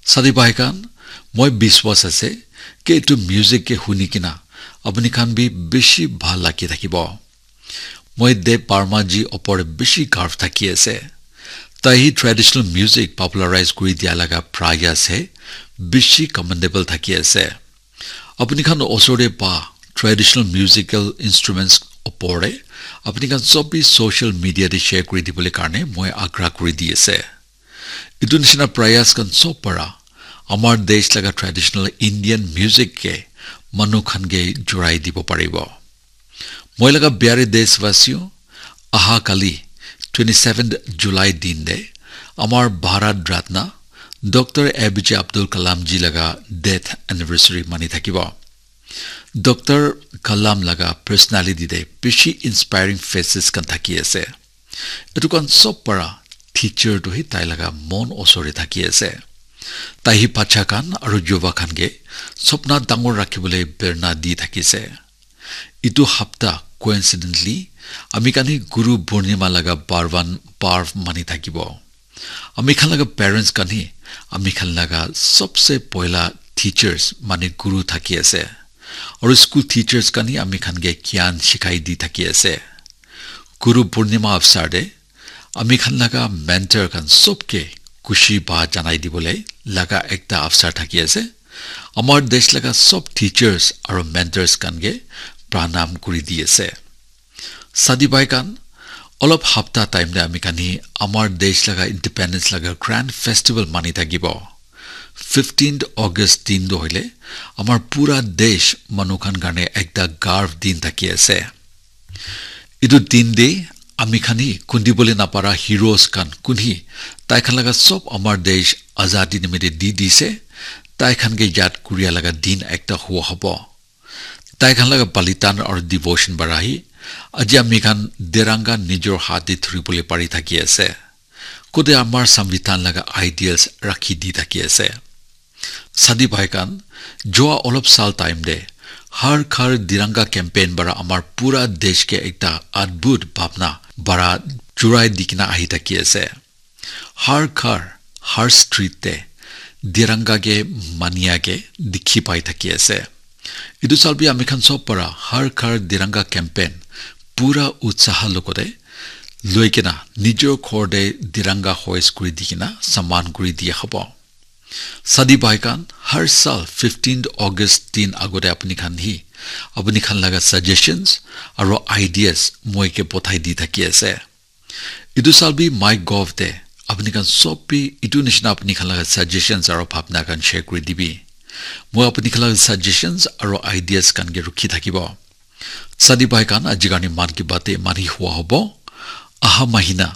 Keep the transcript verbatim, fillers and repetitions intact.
Sadi bhai khan, moi biswas ase ki etu music ke huni kina apni khan bi bishi bhal lagi thakibo. Moi Dev Barma ji opor te bishi garv thaki ase. Tai hi traditional music popularize kuri dia laga prayas he bishi commendable thaki ase. Apni khan osor te pa traditional musical instruments opor te apni khan sob bi social media te share kuri dibole karne moi agra kuri di ase. Etu nishina prayas khan sob para amar desh laga traditional Indian music ke manu khan ke jurai dibo paribo. Moi laga pyare deshwasiyo, aha kali twenty seventh July din de amar Bharat Ratna Doctor A P J Abdul Kalam ji laga death anniversary mani thakibo. Doctor Kalam laga personality de bishi inspiring faces khan thaki ase. Etu khan sob para teacher tu hi tai laga mon osor te thaki ase. Tai hi bacha khan aru yuva khan ke sopna dangor rakhi bole prerna di thaki ase. Etu hapta coincidentally ami khan hi Guru Purnima laga parvan parv mani thakibo. Ami khan laga parents khan hi ami khan laga sobse poila teachers mane guru thaki ase. Aru school teachers khan hi ami khan ke gyan shikai di thaki ase. Guru Purnima avsar te ami khan laga mentor khan sob ke khushi ba janai dibole laga ekta avsar thaki ase. Amar desh laga sob teachers aru mentors khan ke pranam kuri di ase. Sadi bhai khan, olop hapta time te ami khan hi amar desh laga independence laga grand festival mani thakibo. Fifteenth August din tu hoile amar pura desh manu khan karne ekta garv din thaki ase. Etu din de ami khan hi kundibole napara heroes khan kun hi tai khan laga sob amar desh azadi nimite di dise, tai khan ke yad kuria laga din ekta hua hobo. Tai khan laga balidan aru devotion para hi aji ami khan Tiranga nijor hath te dhuri bole pari thaki ase. Kote amar Samvidhan laga ideals rakhi di thaki ase. Sadi bhai khan, jua olop sal time te Har Ghar Tiranga campaign para amar pura desh ke ekta adbhut bhabna para jurai di kina ahi thaki ase. Har ghar, har street te Tiranga ke mania ke dikhi pai thaki ase. Etu sal bi ami khan sob para Har Ghar Tiranga campaign pura utsaha logote loi kena nijor ghor te Tiranga hoist kuri di kena saman kuri diya hobo. Sadi bhai khan, har sal fifteenth August din agote apni khan hi apni khan laga suggestions aro ideas moi ke pothai di thaki ase. Etu sal bi MyGov te apni khan sob bi etu nishina apni khan laga suggestions aro bhabna khan share kuri dibi. Moi apni khan laga suggestions aro ideas khan ke rukhi thakibo. Sadi bhai khan, aji karne Mann Ki Baat te mani hua hobo. Aha mahina